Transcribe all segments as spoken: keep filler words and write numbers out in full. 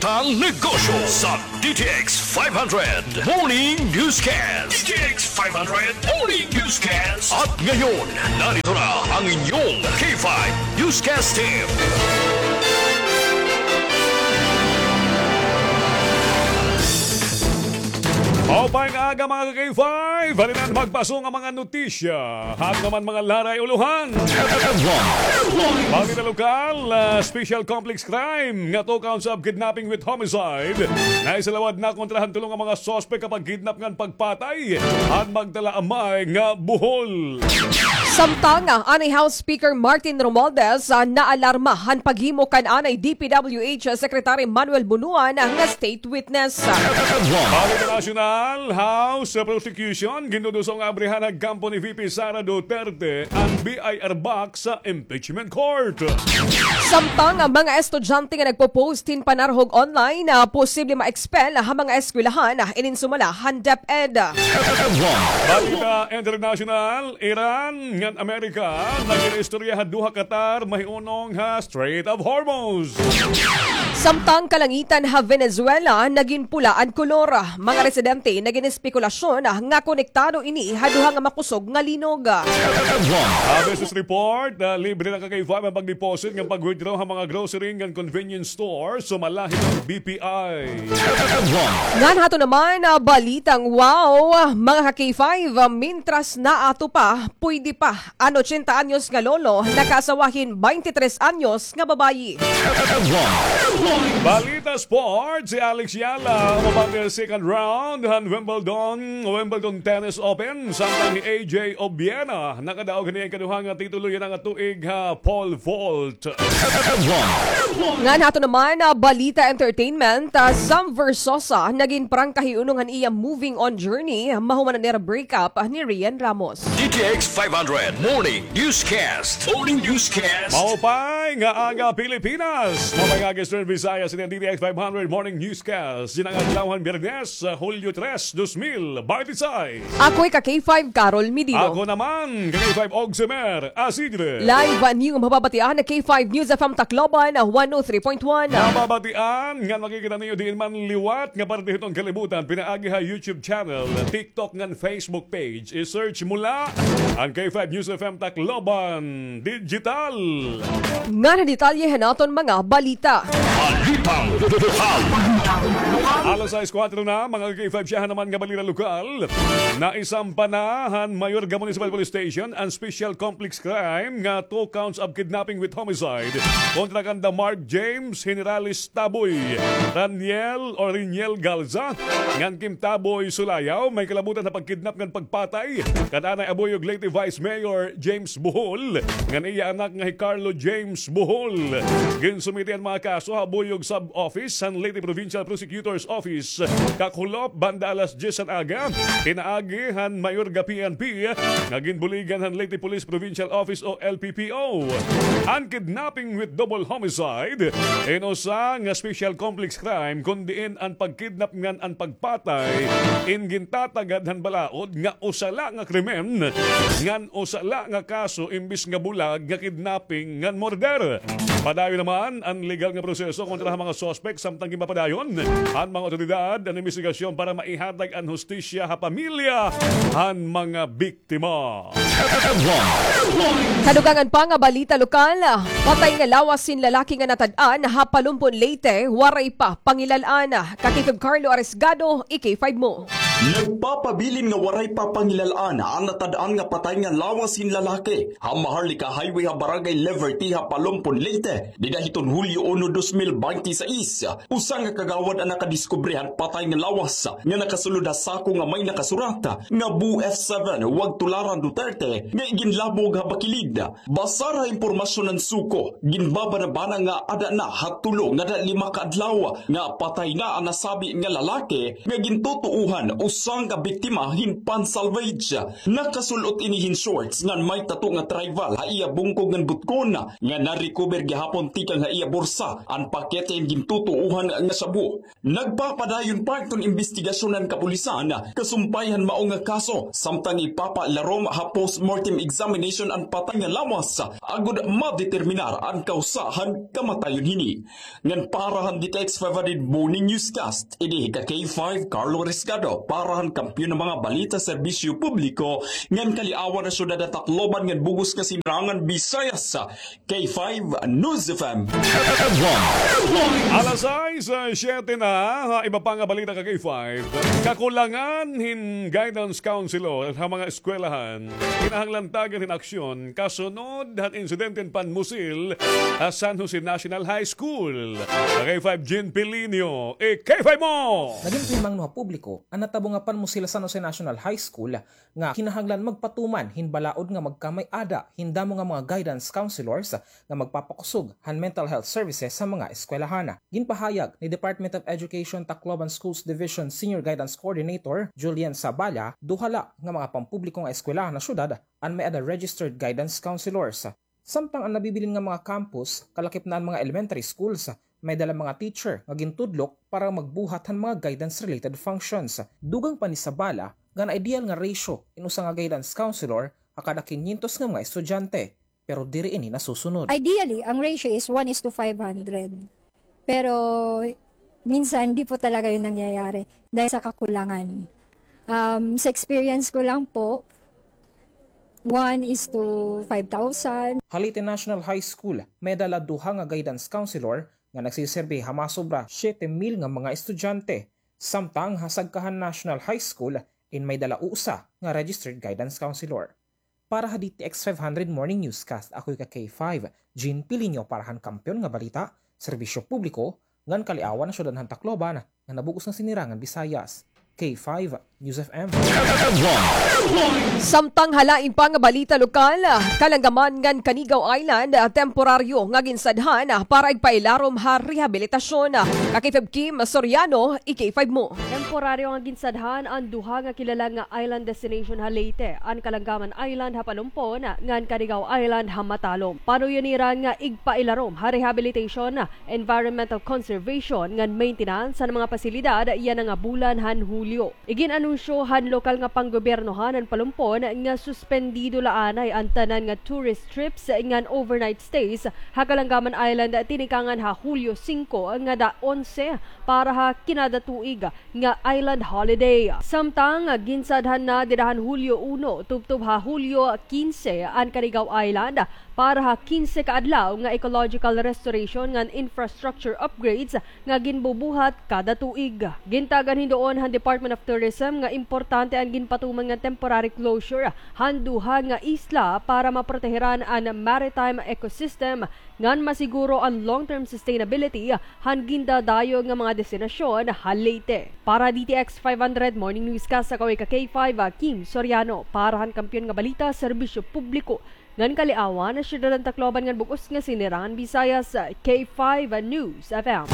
Tang negosyo sa D T X five hundred Morning Newscast. D T X five hundred Morning Newscast. At ngayon, narito na ang inyong K five Newscast Team. Maupay nga aga, mga ka-K five. Halinan magpasong ang mga notisya. Hag naman mga laray ulohan. Balita lokal, ah, special complex crime nga two counts of kidnapping with homicide. Naisalawad na kontra han tulo nga mga suspek ha pagkidnap ngan pagpatay han magdala-amay nga buhol. Samtang, ah, anay House Speaker Martin Romualdez, ah, naalarma han paghimo kan anay D P W H Secretary Manuel Bonoan, ah, nga state witness. Balita nasyonal, House Prosecution, ginduduso nga abrihan han kampo ni V P Sara Duterte an B I R box sa impeachment court. Samtang, ah, mga estudyante nga nagpo-post hin panarhog online, ah, posible ma-expel ha mga eskwelahan, ah, inin sumala han DepEd. Balita international, Iran ngan Amerika nagin-istorya ha duha ka tar mahiunong ha Strait of Hormuz. Samtang kalangitan ha Venezuela nagin pula an kolor, mga residente nagin espekulasyon nga konektado ini ha duha nga makusog nga linog. Ha business report, ah, libre na, ka-K five, an pag-deposit ngan pag-withdraw ha mga grocery ngan convenience store sumala hiton B P I. Ngan haton naman, ah, balitang wow, mga ka-K five, ah, mintras naato pa, pwede pa an ochenta anyos nga lolo nakaasawa hin baynte tres anyos nga babayi. Balita sports, si Alex Yala umabante han second round han Wimbledon, Wimbledon Tennis Open, samtang hi A J Obiena nakadaog hini ha ikaduha nga titulo yana nga tuig ha pole vault. Ngan haton naman, ah, balita entertainment, ah, Sam Versosa nagin prangka hiunong han iya moving on journey mahuman an ira breakup, ah, ni Rian Ramos. D T X five hundred Morning Newscast. Morning Newscast. Maupay nga aga, Pilipinas. Maupay nga aga, Eastern Visayas. Ini an D T X five hundred Morning Newscast. Yana nga adlaw han Biyernes, ah, Hulyo tres, dos mil baynte sais. Ako hi ka-K five, Carol Medino. Ako naman, ka-K five, Ogsemer Asidre. Live, ah, niyo nga mababatian ha K five News F M Tacloban, ah, one oh three point one. Mababatian ngan makikita niyo diin man liwat nga parte hiton kalibutan, pinaagi ha YouTube channel, TikTok ngan Facebook page. I-search mo la an K five News F M Tacloban Digital. Ngan ha detalye han aton mga balita. Balitang lokal. Alas sais kuwatro na, mga ka-K five, siyahan naman nga balita lokal. Naisampa na han Mayorga Municipal Police Station an special complex crime nga two counts of kidnapping with homicide kontra kanda Mark James Generales Taboy, Raniel o Riniel Galza, ngan Kim Taboy Sulayaw, may kalabutan ha pagkidnap ngan pagpatay kan anay Abuyog Leyte Vice Mayor James Bohol, ngan iya anak nga hi Carlo James Bohol. Ginsumiti an mga kaso ha Abuyog Sub-Office han Leyte Provincial Prosecutor's Office kakulop banda alas dyes han aga, pinaagi han Mayorga P N P nga ginbuligan han Leyte Police Provincial Office o L P P O. An kidnapping with double homicide in usa nga special complex crime, kon diin an pagkidnap ngan an pagpatay in gintatagad han balaod nga usa la nga krimen ngan usa la nga kaso imbis nga bulag nga kidnapping ngan murder. Padayon naman an legal nga proseso kontra ha mga suspek, samtang ginpapadayon han mga awtoridad an imbestigasyon para maihatag an hustisya ha pamilya han mga biktima. Kadugangan pa nga balita lokal, patay nga lawas hin lalaki nga natad-an ha Palompon, Leyte, waray pa pangilal-an. Ka-K five Carlo Arisgado, i-K five mo. Nagpapabilin nga waray pa pangilal-an an natad-an nga patay nga lawas hin lalaki ha Maharlika Highway ha Barangay Liberty ha Palompon, Leyte, dida hiton Hulyo uno, dos mil baynte sais. Usa nga kagawad an nakadiskubre han patay nga lawas nga nakasulod ha sako nga may nakasurat nga Boo F seven, Huwag Tularan Duterte, nga iginlabog ha bakilid. Basar ha impormasyon han SOCO, ginbabanabana nga ada na ha tulo ngada lima ka adlaw nga patay na an nasabi nga lalaki nga gintutuohan o Usa nga biktima hin pan-salvage. Nakasul-ot ini hin shorts ngan may tattoo nga tribal ha iya bungkog ngan butkon, nga na-recover gihapon tikang ha iya bursa an pakete hin gintutuohan nga shabu. Nagpapadayon pa iton imbestigasyon han kapulisan kasumpay han mao nga kaso, samtang ipapailarom ha post-mortem examination an patay nga lawas agod madeterminar an kawsa han kamatayon hini. Ngan para han D T X five hundred Morning Newscast, ini ka K five Carlo Rescado, para han kampiyon nga mga balita, serbisyo publiko, ngan kaliawan han syudad han Tacloban ngan bug-os nga Silangan Visayas, K five News F M. Alas sais, ah, siyete na, ha iba pa nga balita ka K five. Kakulangan hin guidance counselor ha mga eskwelahan. Kinahanglan tagan hin aksyon kasunod han insidente hin panmusil ha San Jose National High School. K five Jean Pilinio, i-K five mo! Nagin himangno ha publiko an natabo nga panmusil ha San Jose National High School nga kinahanglan magpatuman hin balaod nga magkamay-ada hin damo nga mga guidance counselors nga magpapakusog han mental health services sa mga eskwelahan. Ginpahayag ni Department of Education Tacloban Schools Division Senior Guidance Coordinator Julian Sabala, duha la nga mga pampubliko nga eskwelahan ha syudad an may-ada registered guidance counselors. Samtang an nabibilin nga mga campus, kalakip na an mga elementary schools, may-ada la mga teacher nga gintudlok para magbuhat han mga guidance-related functions. Dugang pa ni Sabala nga an ideal nga ratio in usa nga guidance counselor ha kada kinyentos nga mga estudyante, pero diri ini nasusunod. Ideally, ang ratio is one is to five hundred. Pero minsan, di po talaga yun nangyayari dahil sa kakulangan. Um, sa experience ko lang po, one is to five thousand. Ha Leyte National High School, may-ada la duha nga guidance counselor nga nagsiserbi ha masobra siyete mil nga mga estudyante. Samtang ha Sagkahan National High School, in may-ada la usa nga registered guidance counselor. Para ha D T X five hundred Morning Newscast, ako ka K five, Jean Pilinio para han Kampiyon nga Balita, Serbisyo Publiko, ngan kaliawan han syudad han Tacloban, nga nabug-os nga Sinirangan Visayas. K five News F M. Samtang ha lain pa nga balita lokal, Kalanggaman ngan Canigao Island, temporaryo nga ginsadhan para igpailarom ha rehabilitasyon. Ka K five Kim Soriano, i-K five mo. Temporaryo nga ginsadhan an duha nga kilala nga island destination ha Leyte, an Kalanggaman Island ha Palompon ngan Canigao Island ha Matalom. Panuyo nira nga igpailarom ha rehabilitation, environmental conservation ngan maintenance han mga pasilidad yana nga bulan han Hulyo. Igin-anunsyo han lokal nga panggobyernohan han Palompon nga suspendido la anay an tanan nga tourist trips ngan overnight stays ha Kalanggaman Island tinikangan ha Hulyo singko ngada onse para ha kinadatuig nga island holiday. Samtang ginsadhan na dida han Hulyo uno tubtob ha Hulyo kinse an Canigao Island para ha kinse ka adlaw nga ecological restoration ngan infrastructure upgrades nga ginbubuhat kada tuig. Gintagan hin duon han Department of Tourism nga importante an ginpatuman nga temporary closure han duha nga isla para maproteheran an maritime ecosystem ngan masiguro an long-term sustainability han gindadayo nga mga destinasyon ha Leyte. Para D T X five hundred Morning Newscast, ako ka K five, Kim Soriano, para han Kampiyon nga Balita, Serbisyo Publiko, ngan kaliawan han syudad han Tacloban ngan bug-os nga Sinirangan Visayas, K five News F M.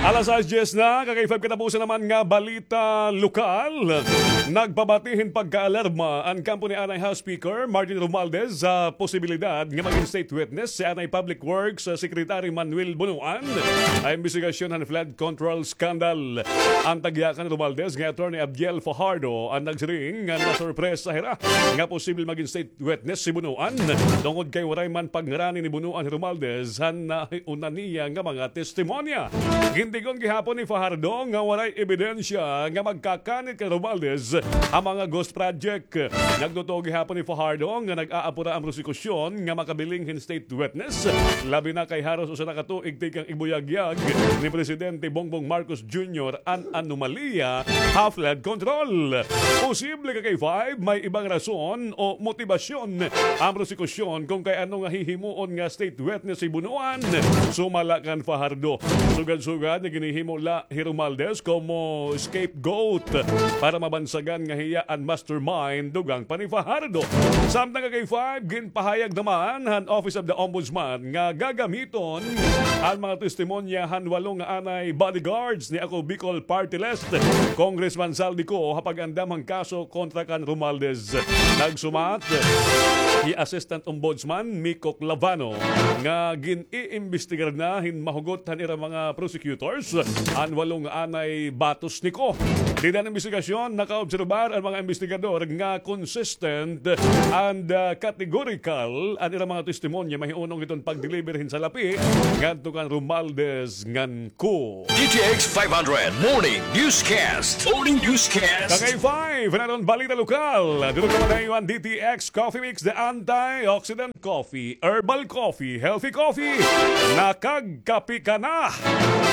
Alas sais dyes na, ka K five, katapusan naman nga balita lokal. Nagpabati hin pagkaalarma an kampo ni anay House Speaker Martin Romualdez sa posibilidad nga magin state witness si anay Public Works Secretary Manuel Bonoan ha imbestigasyon han flood control scandal. An tagyakan ni Romualdez nga Attorney Abdiel Fajardo an nagsiring nga nasurpresa hira nga posible magin state witness si Bonoan, tungod kay waray man pagngarani ni Bonoan hi Romualdez han nahiuna niya nga mga testimonya. Gintigon gihapon ni Fajardo nga waray ebidensya nga magkakanit kan Romualdez an mga ghost project. Nagtutuo gihapon hi Fajardo nga nag-aapura an prosekusyon nga makabiling hin state witness, labi na kay haros usa na ka tuig tikang igbuyagyag ni Presidente Bongbong Marcos Junior an anomalya ha flood control. Posible ka K five may ibang rason o motibasyon an prosekusyon kon kay ano nga hihimuon nga state witness hi Bonoan sumala kan Fajardo. Sugad-sugad nga ginhihimo la hi Romualdez komo scapegoat para mabansagan nga hiya an mastermind dugang pa ni Fajardo. Samtang ka K five, ginpahayag naman han Office of the Ombudsman nga gagamiton an mga testimonya han walo nga anay bodyguards ni Ako Bicol Party List, Congressman Zaldy Co, ha pag-andam han kaso kontra kan Romualdez. Nagsumat hi Assistant Ombudsman Mico Clavano nga gin-iimbestigar na hin mahugot han ira mga prosecutors an walo nga anay batos ni Co. Dida han imbestigasyon, nakaobserbar an mga investigador nga consistent and, ah, categorical an ira mga testimonya mahiunong hiton pag-deliver hin salapi ngadto kan Romualdez ngan Co. D T X five hundred Morning Newscast. Morning Newscast. Ka K five, naton balita lokal. Durog naman an D T X Coffee Mix, the antioxidant coffee, herbal coffee, healthy coffee. Nakagkape ka na,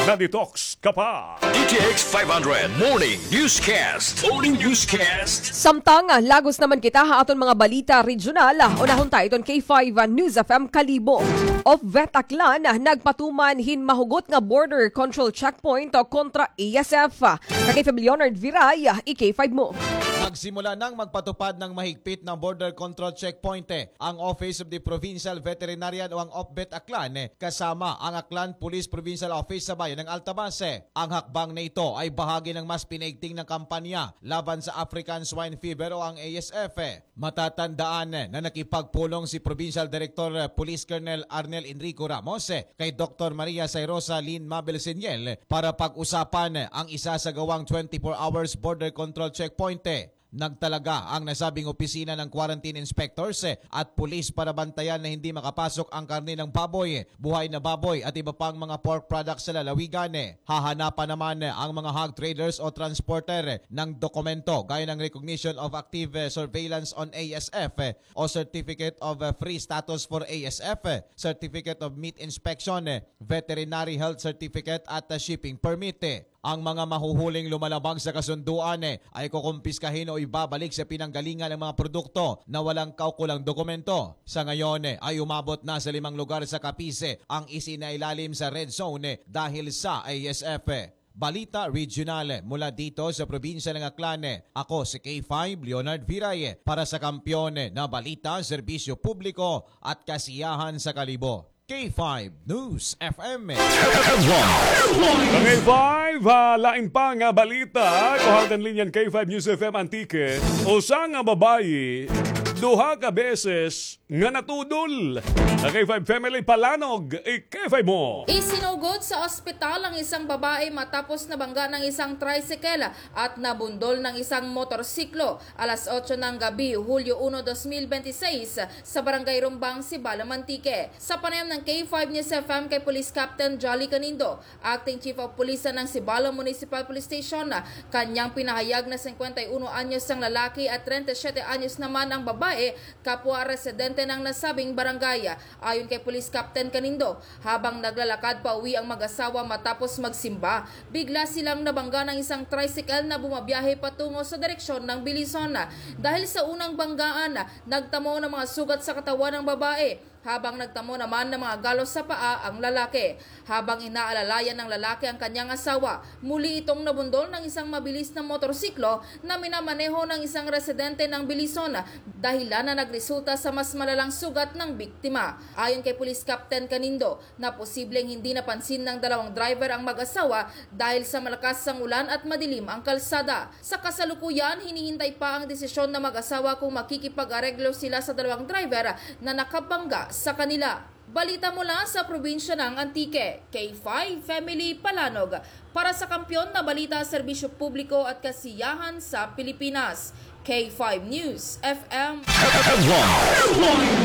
na-detox ka pa. D T X five hundred Morning Newscast. Morning Newscast. Samtang, ah, lagos naman kita ha aton mga balita regional, ah, unahon ta iton K five, ah, News F M Kalibo. Off-vet Aklan, ah, nagpatuman hin mahugot nga border control checkpoint, ah, kontra A S F. Ka K five Leonard Viray, ah, i K five mo. Nagsimula nang magpatupad ng mahigpit na border control checkpoint, eh, ang Office of the Provincial Veterinarian o ang OPVET Aklan, eh, kasama ang Aklan Police Provincial Office sa bayan ng Altavas, eh. Ang hakbang na ito ay bahagi ng mas pinaigting na kampanya laban sa African Swine Fever o ang A S F, eh. Matatandaan, eh, na nakipagpulong si Provincial Director, eh, Police Colonel Arnel Enrico Ramos, eh, kay Doktor Maria Sairosa Lynn Mabel Seniel, eh, para pag-usapan, eh, ang isasagawang twenty-four hours border control checkpoint, eh. Nagtalaga ang nasabing opisina ng quarantine inspectors, eh, at pulis para bantayan na hindi makapasok ang karne ng baboy, eh, buhay na baboy at iba pang mga pork products sa lalawigan, eh. Hahanapan naman, eh, ang mga hog traders o transporter, eh, ng dokumento gaya ng Recognition of Active, eh, Surveillance on A S F, eh, o Certificate of, eh, Free Status for A S F, eh, Certificate of Meat Inspection, eh, Veterinary Health Certificate at, eh, Shipping Permit, eh. Ang mga mahuhuling lumalabag sa kasunduan, eh, ay kukumpiskahin o ibabalik sa pinanggalingan ang mga produkto na walang kaukulang dokumento. Sa ngayon, eh, ay umabot na sa limang lugar sa Capiz, eh, ang isinailalim sa red zone, eh, dahil sa A S F, eh. Balita regional, eh, mula dito sa probinsya ng Aklan, eh. Ako si K five Leonard Viray, eh, para sa Kampiyon, eh, na Balita, Serbisyo Publiko at Kasiyahan sa Kalibo. K five News F M. K five, ha, lain pa nga balita, kuhawtan linya han K five News F M Antique. Usa nga babayi, duha ka beses nga natudol. Ka K five Family, palanog, i K five mo. Isinugod sa ospital ang isang babae matapos nabangga ng isang tricycle at nabundol ng isang motorsiklo alas otso ng gabi, Hulyo uno, dos mil bente seis, sa Barangay Rumbang, Sibalom, Antique. Sa panayam ng K five News F M kay Police Captain Jolly Canindo, Acting Chief of Police ng Sibalom Municipal Police Station, kanyang pinahayag na singkwenta y uno anyos ang lalaki at trenta y siyete anyos naman ang babae, kapwa residente ng nasabing barangay. Ayon kay Police Captain Canindo, habang naglalakad pauwi ang mag-asawa matapos magsimba, bigla silang nabangga ng isang tricycle na bumabiyahe patungo sa direksyon ng Belison. Dahil sa unang banggaan, nagtamo ng mga sugat sa katawan ng babae, habang nagtamo naman ng mga galos sa paa ang lalaki. Habang inaalalayan ng lalaki ang kanyang asawa, muli itong nabundol ng isang mabilis na motorsiklo na minamaneho ng isang residente ng Belison, dahilan na nagresulta sa mas malalang sugat ng biktima. Ayon kay Police Captain Canindo, na posibleng hindi napansin ng dalawang driver ang mag-asawa dahil sa malakas ang ulan at madilim ang kalsada. Sa kasalukuyan, hinihintay pa ang desisyon ng mag-asawa kung makikipag-areglo sila sa dalawang driver na nakabangga sa kanila. Balita mula sa probinsya ng Antique, K five Family, palanog para sa Kampiyon na Balita, Serbisyo Publiko at Kasiyahan sa Pilipinas. K five News F M.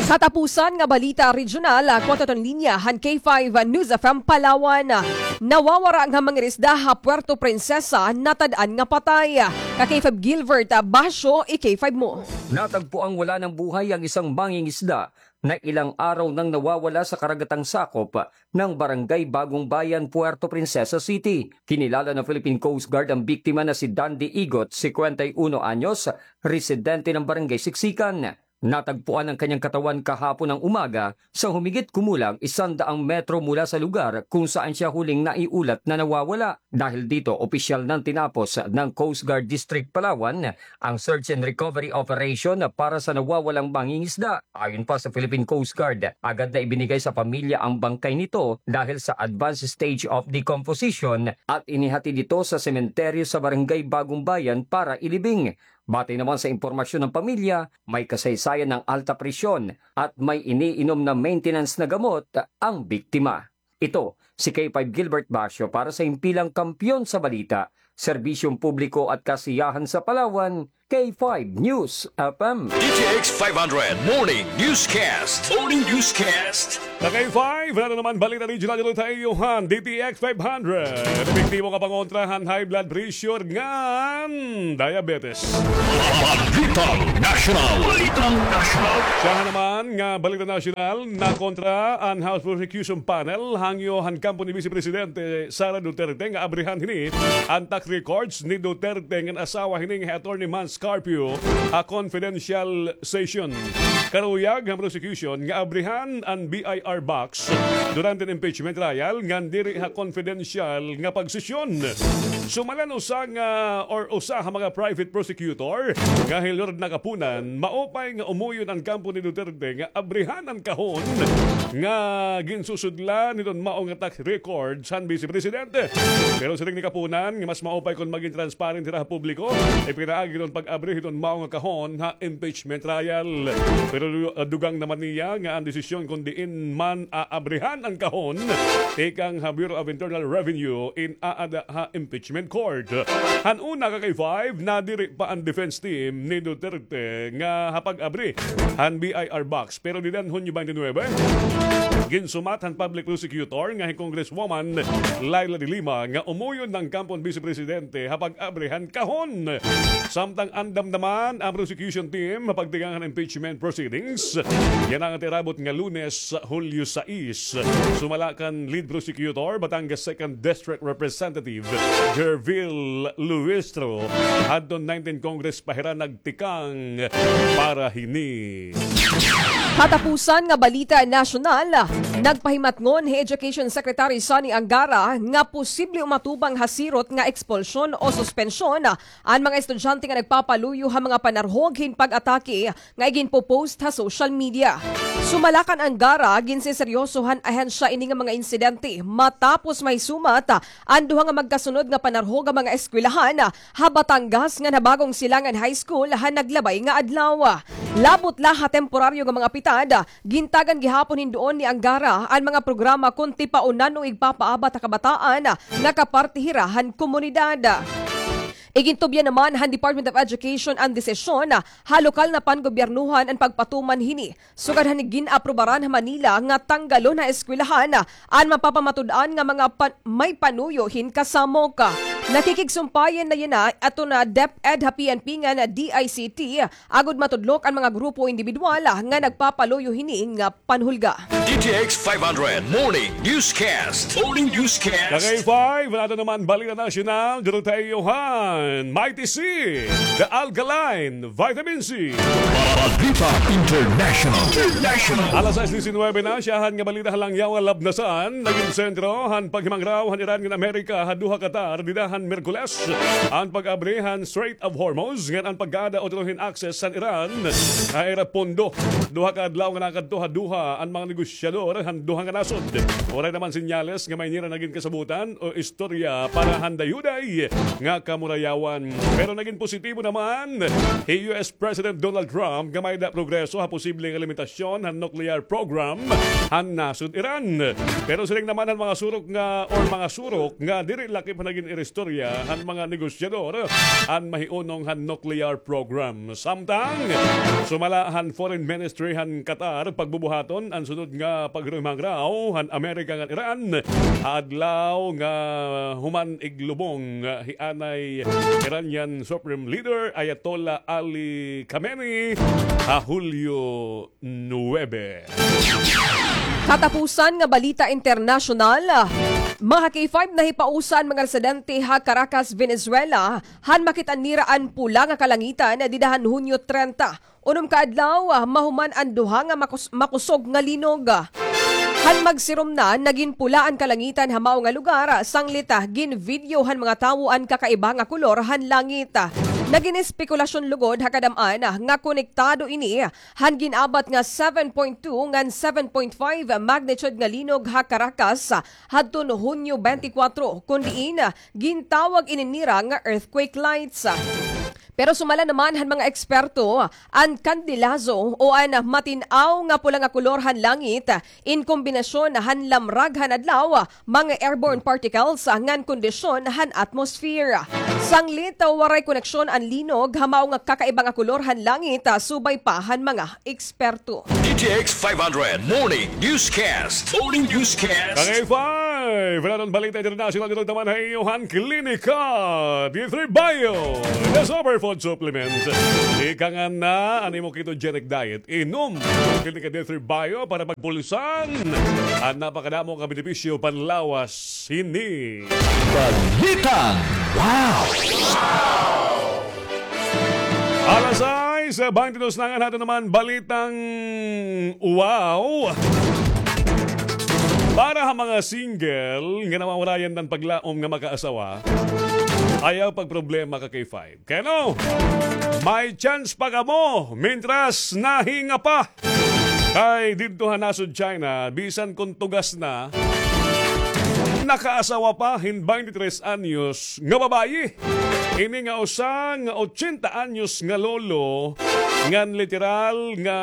Katapusan nga balita regional, kuwat aton linya han K five News F M Palawan. Nawawara nga mangirisda ha Puerto Princesa, natad-an nga patay. Ka K five Gilbert Basyo, i K five mo. Natagpuang wala ng buhay ang isang mangingisda na ilang araw nang nawawala sa karagatang sakop ng Barangay Bagong Bayan, Puerto Princesa City. Kinilala ng Philippine Coast Guard ang biktima na si Dandy Igot, singkwenta y uno anyos, residente ng Barangay Siksikan. Natagpuan ang kanyang katawan kahapon ng umaga sa humigit kumulang isang daang metro mula sa lugar kung saan siya huling naiulat na nawawala. Dahil dito, opisyal nang tinapos ng Coast Guard District Palawan ang search and recovery operation para sa nawawalang mangingisda. Ayon pa sa Philippine Coast Guard, agad na ibinigay sa pamilya ang bangkay nito dahil sa advanced stage of decomposition at inihatid ito sa sementeryo sa Barangay Bagong Bayan para ilibing. Batay naman sa impormasyon ng pamilya, may kasaysayan ng alta presyon at may iniinom na maintenance na gamot ang biktima. Ito si K five Gilbert Basio para sa Himpilang Kampiyon sa Balita, Serbisyong Publiko at Kasiyahan sa Palawan, K five News F M. D T X five hundred Morning Newscast. Morning Newscast. Sa K five, ano naman balita regional dito tayo, han D T X five hundred. Epektibo nga pangontra han high blood pressure ngan diabetes. Balitang National. Balitang National. Siya naman nga balita nasyonal, nakontra an House Prosecution Panel hangyo han kampo ni Vice Presidente Sara Duterte nga abrihan hini an tax records ni Duterte ngan asawa hini nga hi Attorney Mans Carpio ha confidential session. Karuyag han prosecution nga abrihan an B I R box durante an impeachment trial ngan diri ha confidential nga pagsesyon. Sumala an usa nga or usa ha mga private prosecutor nga hi Lorna Kapunan, maupay nga umoyon an kampo ni Duterte nga abrihan an kahon nga ginsusudlan hiton mao nga tax records han Vice Presidente. Pero siring ni Kapunan nga mas maupay kon magin transparent hira ha publiko, ipinaagi hiton pag-abri hiton mao nga kahon ha impeachment trial. Pero, ah, dugang naman niya nga an desisyon kon diin man aabrihan an kahon tikang ha Bureau of Internal Revenue in aada ha impeachment court. Han una, ka K five, nadiri pa an defense team ni Duterte nga ha pag-abri han B I R box. Pero dida han Hunyo twenty-nine, ginsumat han public prosecutor nga hi Congresswoman Leila de Lima nga umoyon an kampo han Vice Presidente ha pag-abri han kahon. Samtang andam naman an prosecution team ha pagtikang han impeachment proceedings yana nga tirabot nga Lunes, Hulyo sais. Sumala kan lead prosecutor, Batangas Second District Representative Gerville Luistro, hadton nineteen Congress pa hira nagtikang para hini. Katapusan nga balita nasyonal, nagpahimatngon hi Education Secretary Sonny Angara nga posible umatubang ha sirot nga ekspulsyon o suspensyon an mga estudyante nga nagpapaluyo ha mga panarhog hin pag-atake nga iginpo-post ha social media. Sumala kan Angara, ginseseryoso han ahensya ini nga mga insidente matapos mahisumat an duha nga magkasunod nga panarhog ha mga eskwelahan ha Batangas ngan ha Bagong Silangan High School han naglabay nga adlaw. Labot la ha temporaryo nga mga pitad, gintagan gihapon hin duon ni Angara an mga programa kon tipaunan o igpapaabat ha kabataan nga kaparte hira han komunidad. Igintubyan naman han Department of Education an desisyon ha lokal na pangobyernohan an pagpatuman hini, sugad han gin-aprobaran ha Manila nga tanggalon ha eskwelahan an mapapamatud-an nga mga pan-, may panuyo hin kasamok. Nakikigsumpayan na yana aton DepEd ha P N P ngan DICT, agod matudlok an mga grupo o indibidwal nga nagpapaluyo hini nga panhulga. D T X five hundred Morning Newscast. Morning Newscast. Sa K five, wala na naman balita nasyonal. Dito tayo han Mighty C, The Alkaline Vitamin C. Balita International. International. Alas sais disinuybe na, siyahan nga balita ha Langyaw nga Labnasan. Nagin sentro han paghimangraw han Iran ngan Amerika ha Doha, Qatar, dida han Miyerkules, an pag-abri han Strait of Hormuz, ngan an pagkaada utro hin access han Iran ha ira pondo. Duha ka adlaw nga nakadto ha Doha an mga negosyador han duha nga nasod. Waray naman senyales nga may nira nagin kasabotan o istorya para han dayuday nga kamurayawan. Pero nagin positibo naman hi U S President Donald Trump nga may-ada progreso ha posible nga limitasyon han nuclear program han nasod Iran. Pero siring naman han mga surok nga, or mga surok nga diri lakip han nagin iristorya han mga negosyador an mahiunong han nuclear program. Samtang, sumala han Foreign Ministry han Qatar, pagbubuhaton an sunod nga paghimangraw han Amerika ngan Iran ha adlaw nga human iglubong hi anay Iranian Supreme Leader Ayatollah Ali Khamenei ha Hulyo nuwebe. Katapusan nga balita internasyonal, mga K five, nahipausa an mga residente ha Caracas, Venezuela, han makit-an nira an pula nga kalangitan dida han Hunyo trenta. Unom ka adlaw, ah, mahuman an duha nga makus-, makusog nga linog. Han magsirom na, nagin pula an kalangitan ha mao nga lugar, sanglit, ah, gin-video han mga tawo an kakaiba nga kolor han langit. Nagin espekulasyon lugod ha kadam-an, ah, nga konektado ini han gin-abat nga seven point two ngan seven point five magnitude nga linog ha Caracas, ah, hadton Hunyo twenty-four, kun diin, ah, gintawag ini nira nga earthquake lights. Pero sumala naman han mga eksperto, an kandilazo o an matin-aw nga pula nga kolor han langit, in kombinasyon han lamrag han adlaw, mga airborne particles, ngan kondisyon han atmosphere. Sanglit, waray koneksyon an linog ha mao nga kakaiba nga kolor han langit, subay pa han mga eksperto. D T X five hundred Morning Newscast. Morning Newscast. Kangay five, wala nang balita international dito naman ha iyo han Klinika D three Bio, the superfood supplement. Ika nga na an imo ketogenic diet, inom Klinika D three Bio para magpulsan an napakadamo nga benepisyo panlawas hini. Balitang Wow! Alas sais, twenty-two na nga nato naman balitang wow. Para ha mga single nga nawawarayan ng paglaom nga makaasawa, ayaw pagproblema ka K five. Kay ano? May chance pa kamo mintras nahinga pa. Kay didto ha nasod China, bisan kon tugas na, nakaasawa pa hin twenty-three anyos nga babayi. Ini nga usa nga ochenta anyos nga lolo, ngan literal nga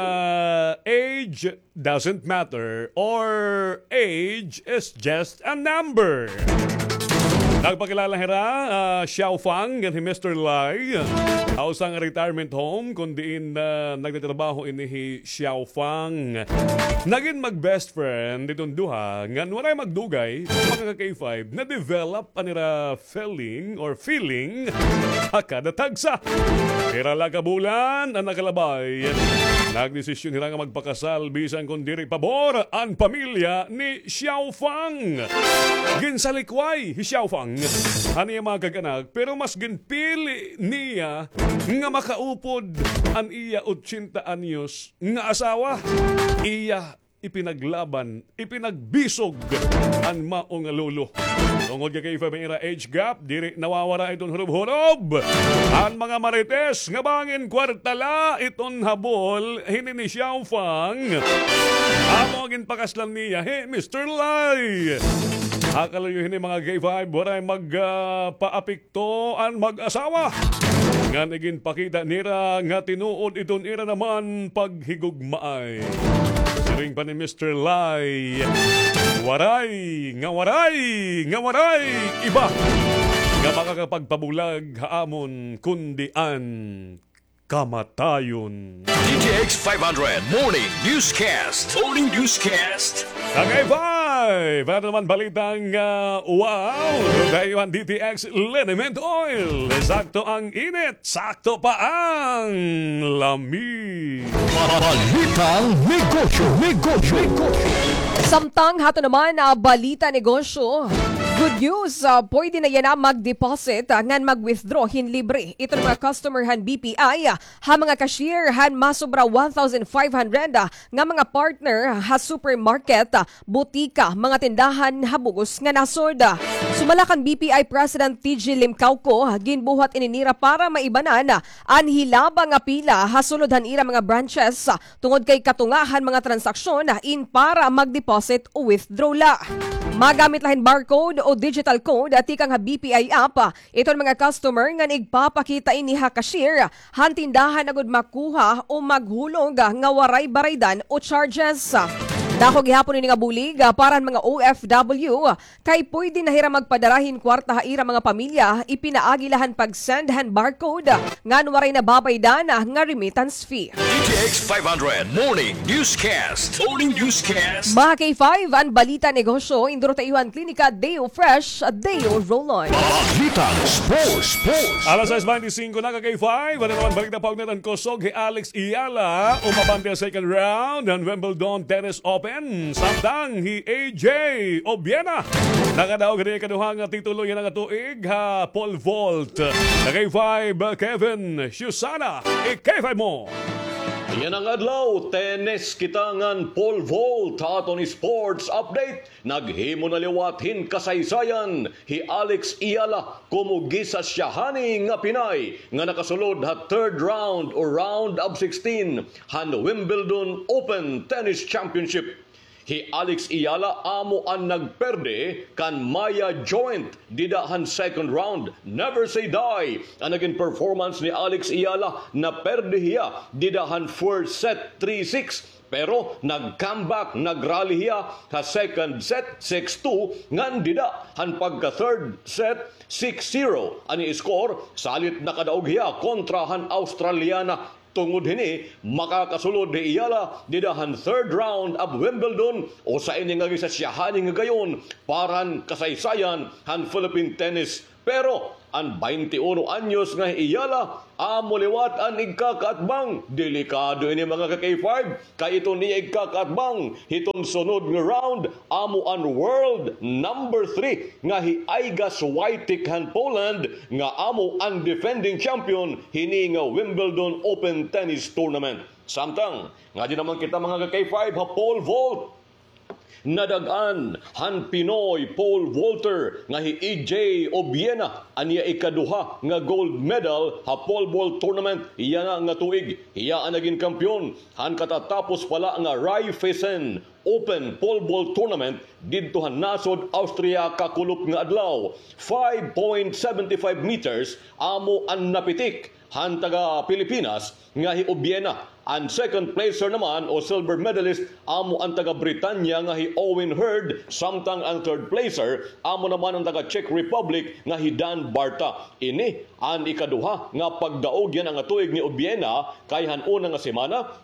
age doesn't matter or age is just a number. Nagpakilala hira, ah, Xiao Fang ngan hi Mister Lai, ha usa nga retirement home kun diin, ah, nagtatrabaho ini hi Xiao Fang. Nagin mag-best friend iton duha ngan walay magdugay, mga ka K five, na-develop an ira feeling or feeling ha kada tagsa. Pira la ka bulan an nakalabay, nagdesisyon hira nga magpakasal bisan kon diri pabor an pamilya ni Xiao Fang. Ginsalikway hi Xiao Fang han iya mga kag-anak, pero mas ginpili niya nga makaupod an iya ochenta anyos nga asawa. Iya ipinaglaban, ipinagbisog an mao nga lolo. Tungod kay may ira age gap, diri nawawara iton hurob-hurob. An mga marites nga bangin kwarta la iton habol hini ni Xiao Fang. Amo ginpakaslan niya hi Mister Lai. Ha kalayo hini, mga K five, waray mag, ah, paapik to an mag-asawa. Ngan iginpakita nira nga tinuod iton ira naman paghigugmaay. Siring pa ni Mister Lai, waray, nga waray, nga waray iba nga makakapagpabulag ha amon kundi an kamatayon. D T X five hundred Morning Newscast. Morning Newscast. Tagay five, para naman balitang, ah, wow. Dayuhan D T X Liniment Oil. Sakto ang init, sakto pa ang lami. Balitang negosyo, negosyo, negosyo. Samtang hato naman, ah, balita negosyo. Good news, ah, pwede na yana mag-deposit, ah, ngan mag-withdraw hin libre. Iton mga customer han B P I, ah, ha mga cashier han masobra one thousand five hundred, ah, nga mga partner ha supermarket, ah, butika, mga tindahan ha bug-os nga nasod. Sumala kan B P I President T G Limcauco, ah, ginbuhat ini nira para maibanan, ah, an hilaba nga pila ha sulod han ira mga branches, ah, tungod kay katunga han mga transaksyon, ah, in para mag-deposit o withdraw la. Magamit la hin barcode o digital code, ah, tikang ha B P I app, ah, iton mga customer ngan igpapakita ini ha cashier han tindahan agod makuha o maghulog nga waray baraydan o charges. Dako gihapon ini nga bulig para han mga O F W kay pwede na hira magpadara hin kwarta ha ira mga pamilya, ipinaagi la han pag-send han barcode ngan waray na babaydan nga remittance fee. D T X five hundred Morning Newscast. Morning Newscast. Mga K five, an balita negosyo, induro ta iyo han Klinika Deo Fresh, Deo Roll-On. Balitang sports, sports. Alas sais bente singko na, ka K five. Ano naman balita, paugnat an kusog hi Alex Eala, umabante ha second round han Wimbledon Tennis Open. Samtang hi A J Obiena nakadaog hini ikaduha nga titulo yana nga tuig ha pole vault. Ka K five, Kevin Susana, i-K five mo. Yana nga adlaw, tennis kita ngan pole vault ha aton sports update. Naghimo na liwat hin kasaysayan hi Alex Eala komo gisa siya hani nga Pinay nga nakasulod ha third round o round of sixteen han Wimbledon Open Tennis Championship. Hi Alex Eala amo an nagperde kan Maya Joint dida han second round. Never say die an nagin performance ni Alex Eala. Naperde hiya dida han first set three six. Pero nag-comeback, nag-rally hiya ha second set, six two, ngan dida han pagka-third set, six zero an i-score, salit nakadaog hiya kontra han Australiana. Tungod hini, makakasulod hi Eala dida han third round of Wimbledon, usa ini nga gisa siya hani nga gayon para han kasaysayan han Philippine tennis. Pero an baynte uno anyos nga hi Eala, amo liwat an igkakaatbang. Delikado ini, mga ka-K five, kay iton iya igkakaatbang hiton sunod nga round, amo an world number three nga hi Iga Swiatek han Poland, nga amo an defending champion hini nga Wimbledon Open Tennis Tournament. Samtang ngadto naman kita, mga ka-K five, ha pole vault. Nadag-an han Pinoy pole vaulter nga hi A J Obiena an iya ikaduha nga gold medal ha pole vault tournament yana nga tuig. Hiya an nagin kampeon han katatapos pa la nga Raiffeisen Open Pole Vault Tournament didto han nasod Austria kakulop nga adlaw. Five point seven five meters amo an napitik han taga-Pilipinas nga hi Obiena. An second placer naman o silver medalist amo an taga-Britanya nga hi Owen Hurd, samtang an third placer amo naman an taga-Czech Republic nga hi Dan Barta. Ini an ikaduha nga pagdaog yana nga tuig ni Obiena, kay han una nga semana,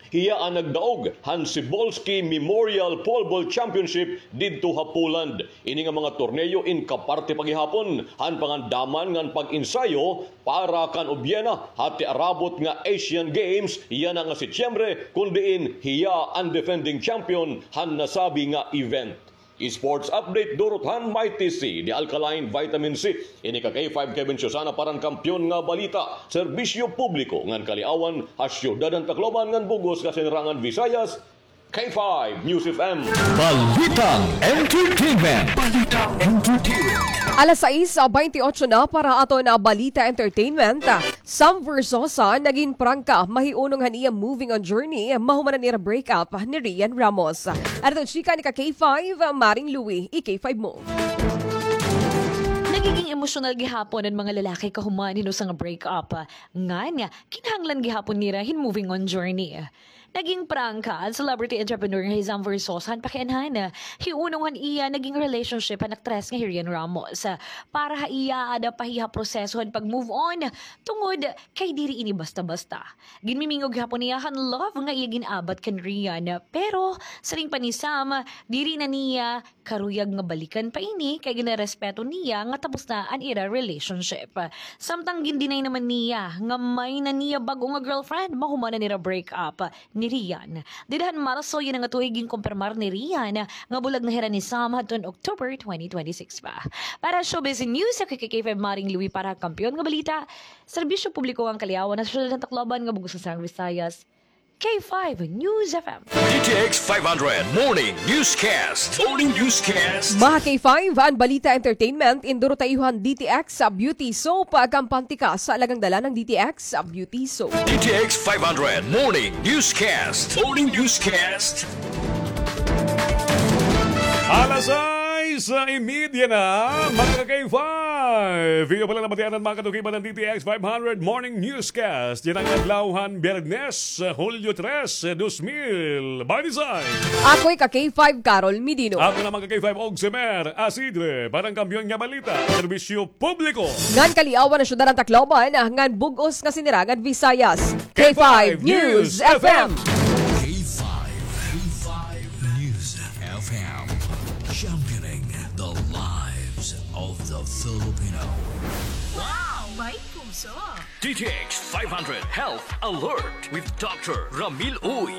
hiya an nagdaog han Cybulski Memorial Pole Vault Championship didto ha Poland. Ini nga mga torneo in kaparte pa gihapon han pangandaman ngan pag-ensayo para kan Obiena ha tiarabot nga Asian Games yana nga Setyembre, kon diin hiya an defending champion han nasabi nga event. Sports update durot han Mighty C, the alkaline vitamin C. Ini ka K five Kevin Susana para han Kampiyon nga Balita, Serbisyo Publiko ngan Kaliawan ha Syudad han Tacloban ngan bug-os nga Sinirangan Visayas, K five News F M. Balitang Entertainment. Balitang Entertainment. Alas sais baynte otso na para aton balita entertainment. Sam Versosa nagin prangka mahiunong han iya moving on journey mahuman han ira break up ni Rian Ramos. Adto chika ni ka K five, Maring Louie, i-K five mo. Nagiging emosyonal gihapon an mga lalaki kahuman hin usa nga break up. Ngan, kinahanglan gihapon nira hin moving on journey. Naging prangka an celebrity entrepreneur nga hi Sam Versosa han pakianhan hiunong han iya naging relationship han aktres nga hi Rian Ramos. Para ha iya, aada pa hiya ha proseso han pag-move on, tungod kay diri ini basta-basta. Ginmimingog gihapon niya han love nga iya gin-abat kan Rian, pero siring pa ni Sam, diri na niya karuyag nga balikan pa ini kay ginarespeto niya nga tapos na an ira relationship. Samtang gin-deny naman niya nga may na niya bag-o nga girlfriend mahuman an ira break up ni Rian. Dida han Marso yana nga tuig ginkumpirmar ni Rian nga bulag na hira ni Sam hadton October twenty twenty-six pa. Para Showbiz News, ako hi K five Maring Louie para Kampiyon nga Balita, Serbisyo Publiko ngan Kaliawan ha Syudad han Tacloban ngan bug-os nga Sinirangan Visayas, K five News F M. D T X five hundred Morning Newscast. Morning Newscast. Mga K five, an balita entertainment, induro ta iyo han D T X Beauty Soap, kampante ka sa alagang dala ng D T X Beauty Soap. D T X five hundred Morning Newscast. Morning Newscast. Alas sais y media na, mga ka-K five. Iyo pa la nabatian an mga katukiban han D T X five hundred Morning Newscast yana nga adlaw han Biyernes, Hulyo tres, dos mil baynte sais. Ako hi ka-K five, Carol Medino. Ako naman ka-K five, Ogsimer Asidre, para han Kampiyon nga Balita, Serbisyo Publiko ngan Kaliawan ha Syudad han Tacloban ngan bug-os nga Sinirangan Visayas, K five News F M. K five, K five News F M, championing the lives of the Filipino. Wow! May puso! D T X five hundred Health Alert with Doctor Ramil Uy.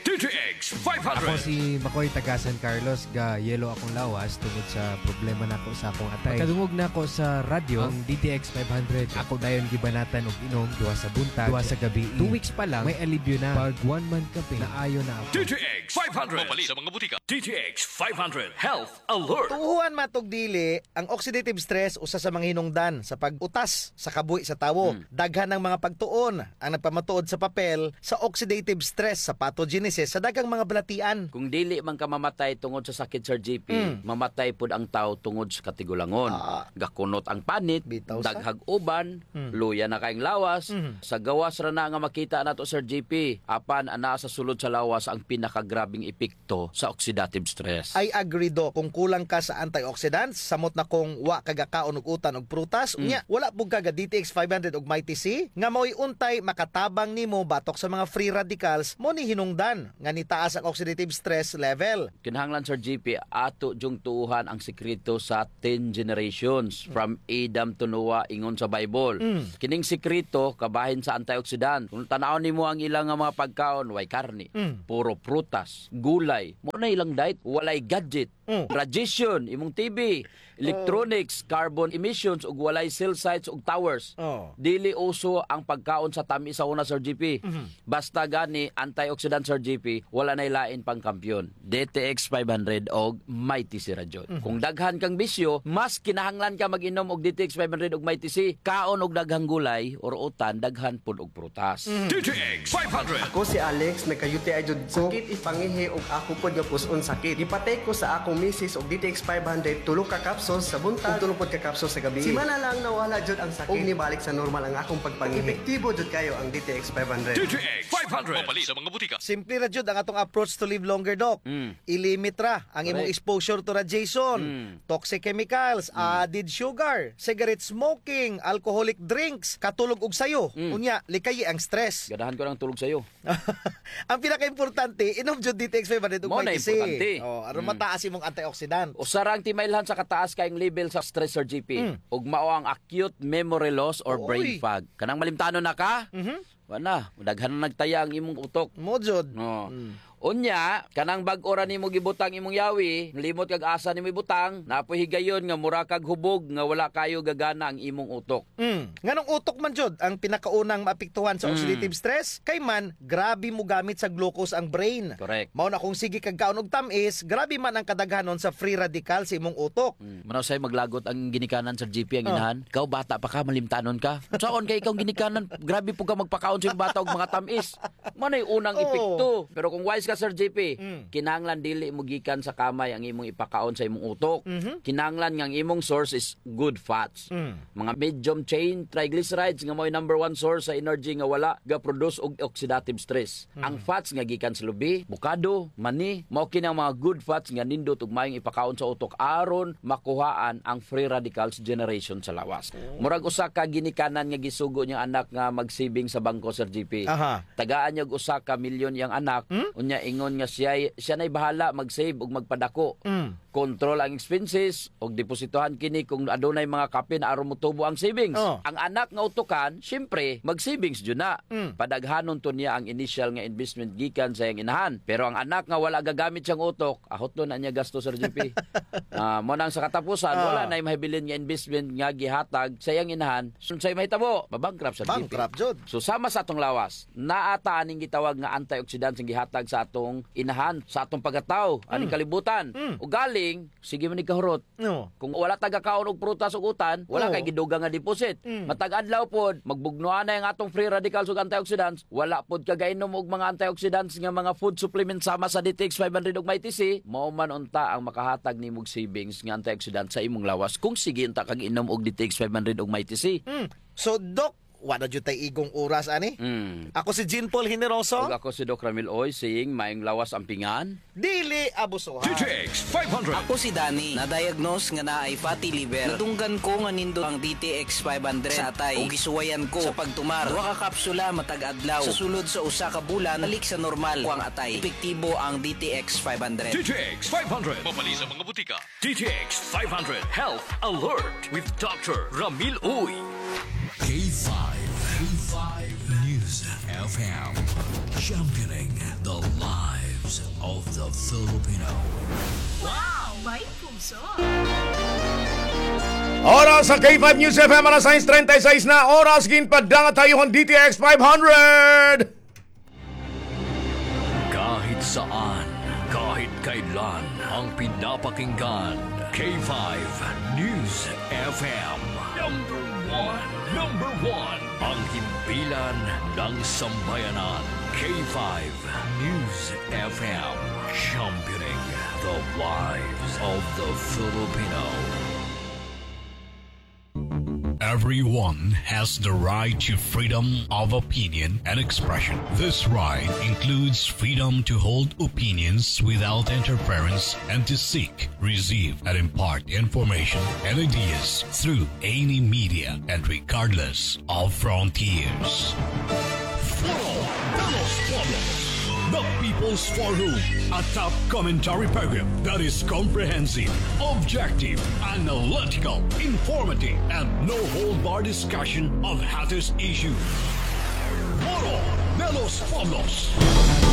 D T X five hundred. Ako si Makoy, taga San Carlos, ga-yellow akong lawas tungod sa problema nako sa akong atay. Pagkadungog nako sa radyo, ang D T X five hundred, ako dayon gibanatan og inom, duha sa buntag, duha sa gabii. Two weeks pa lang, may alibyo na. Pag one month ka pa, naayo na ako. D T X five hundred. Mapalit sa mga butika. D T X five hundred Health Alert. Tuohan man tog dili, ang oxidative stress usa sa mga hinungdan sa pag-utas sa kabuhi sa tawo. Hmm. Daghan ang mga pagtuon ang nagpamatuod sa papel sa oxidative stress sa pathogenesis sa daghang mga balatian. Kung dili man ka mamatay tungod sa sakit, Sir G P, hmm, mamatay pud ang tawo tungod sa katigulangon. Ah. Gakunot ang panit, bitaw sa daghag uban, hmm, luya na kayong lawas. Hmm. Sa gawas ra na nga makita nato, Sir G P, apan anaa sa sulod sa lawas ang pinakagrabing epekto to sa oxidative stress. I agree, Doc. Kung kulang ka sa antioxidants, samot na kung wa ka gakaon og utan og prutas, mm, unya, wala pud ka ga D T X five hundred og Mighty C, nga mao'y untay makatabang nimo batok sa mga free radicals, mao ni hinungdan nga nitaas ang oxidative stress level. Kinahanglan, Sir G P, ato jung tuohan ang sekreto sa ten generations, mm, from Adam to Noah, ingon sa Bible. Mm. Kining sekreto, kabahin sa antioxidant. Kung tan-awon nimo ang ilang nga mga pagkaon, way karne, mm, puro prutas, gulay. Mao na ilang diet, walay gadget. Mm. Radiation, imong T V, electronics, oh, carbon emissions, ug walay cell sites ug towers. Oh. Dili uso ang pagkaon sa tamis sa una, Sir G P. Mhm. Basta gani, antioxidant, Sir G P, wala na'y lain pang kampiyon. D T X five hundred og Mighty C ra jud. Mhm. Kung daghan kang bisyo, mas kinahanglan ka mag-inom og D T X five hundred og Mighty C. Kaon og daghang gulay or utan, daghan pud og prutas. Mm. D T X five hundred. Ako si Alex, nagka-U T I jud ko. Sakit it pangihi ug ako pod nga pus-on sakit. Gipatay ko sa akong misis og D T X five hundred, tulo ka capsules sa buntag ug tulo pod ka capsules sa gabii. Simana lang nawala jud ang sakit ug nibalik sa normal ang akong pagpangihi. Epektibo jud kayo ang D T X five hundred. D T X five hundred. Mapalit sa mga butika. Simple ra jud ang atong approach to live longer, Doc. Mm. I-limit ra ang imong, correct, exposure to radiation, mm, toxic chemicals, mm, added sugar, cigarette smoking, alcoholic drinks, katulog og sayo. Mm. Unya, likayi ang stress. Ganahan ko ng tulog sayo. Ang pinakaimportante, inom jud D T X five hundred ug Mighty C. Mao na importante. Oh, aron, mm, mataas imong antioxidant. Usa ra ang timailhan sa kataas kayong level sa stress, Sir G P. Mm. Ug mao ang acute memory loss or brain fog. Oy. Kanang malimtanon na ka? Mhm. Wa na, daghan na nagtaya ang imong utok. Mao jud. No. Mm. Unya, kanang bag-o ra nimo gibutang imong yawi, limot kag asa nimo ibutang, naa poy higayon nga mura kag hubog nga wala kayo gagana ang imong utok. Mm. Nganong utok man jud ang pinakaunang maapektuhan sa, mm, oxidative stress? Kay man, grabe mogamit sa glucose ang brain. Correct. Mao na kung sige kag kaon og tam-is, grabe man ang kadaghanon sa free radical sa imong utok. Mm. Manaw say maglagot ang ginikanan, Sir G P, ang, oh, inahan. Ikaw, bata pa ka, malimtanon ka. Unsaon kay ikaw ginikanan, grabe po ka magpakaon sa imong bata og mga tam-is. Mao nay unang, oo, epekto. Pero kung wise ka, Sir G P, mm, kinahanglan dili mo gikan sa kamay ang imong ipakaon sa imong utok. Mhm. Kinahanglan nga ang imong source is good fats. Mm. Mga medium chain triglycerides nga mao'y number one source sa energy nga wala ga-produce og oxidative stress. Mm. Ang fats nga gikan sa lubi, bukado, mani, mao kini ang mga good fats nga nindot ug maayong ipakaon sa utok aron makuhaan ang free radicals generation sa lawas. Oh. Murag usa ka ginikanan nga gisugo niyang anak nga mag-saving sa bangko, Sir G P. Aha. Tagaan niya og usa ka milyon iyang anak, hmm? Unya ingon nga siya, siya na'y bahala mag-save ug magpadako. Mm. Control ang expenses, ug depositohan kini kung adunay mga kapin aron motubo ang savings. Oh. Ang anak nga utukan, siyempre, mag-savings jud na. Mm. Padaghanon to niya ang initial nga investment gikan sa iyang inahan. Pero ang anak nga wala gagamit siyang utok, ahot na niya gasto, Sir G P. Ah, mao nang sa katapusan, ah, wala na'y mahibilin nga investment nga gihatag sa iyang inahan. Unsay mahitabo? Mabankrupt, Sir G P. Bankrupt jud. So, sama sa atong lawas, naa ta aning gitawag nga antioxidants nga gihatag sa atong inahan, sa atong pagkatawo, aning, mm, kalibutan. Mm. Ugaling, sige man ni kahurot. No. Kung wala ta gakaon og prutas ug utan, wala, oo, kay gidugang nga deposit. Mm. Matag adlaw pod, magbugnoan na ang atong free radicals ug antioxidants, wala pod ka gainom og mga antioxidants nga mga food supplements sama sa D T X five hundred ug Mighty C, mao man unta ang makahatag nimo og savings nga antioxidant sa imong lawas kung sige unta kag inom og D T X five hundred ug Mighty C. Mm. So, Doc, wa na jud tay igong oras ani. Mm. Ako si Jean Paul Generoso. Ug ako si Doc Ramil Oy, saying, maayong lawas ampingan. Dili abusuhan. D T X five hundred. Ako si Danny, na-diagnose nga naay fatty liver. Nadunggan ko nga nindot ang D T X five hundred sa atay. Ug gisuwayan ko sa pagtumar. Duha ka kapsula matag adlaw. Sa sulod sa usa ka bulan, balik sa normal ko ang atay. Epektibo ang D T X five hundred. D T X five hundred. Mapalit sa mga butika. D T X five hundred Health Alert with Doctor Ramil Uy. K five, K five News. F M, championing the lives of the Filipino. Wow! May puso! Oras sa K five News F M, alas sais treinta y seis na oras, ginpadangat ha iyo han D T X five hundred. Kahit saan, kahit kailan, ang pinapakinggan, K five News F M. Number one, number one, ang himpilan ng sambayanan, K five News F M, championing the lives of the Filipino. Everyone has the right to freedom of opinion and expression. This right includes freedom to hold opinions without interference and to seek, receive, and impart information and ideas through any media and regardless of frontiers. Foro de los Pueblos, the People's Forum, a top commentary program that is comprehensive, objective, analytical, informative, and no-hold-bar discussion of hottest issues. Foro de los Pueblos.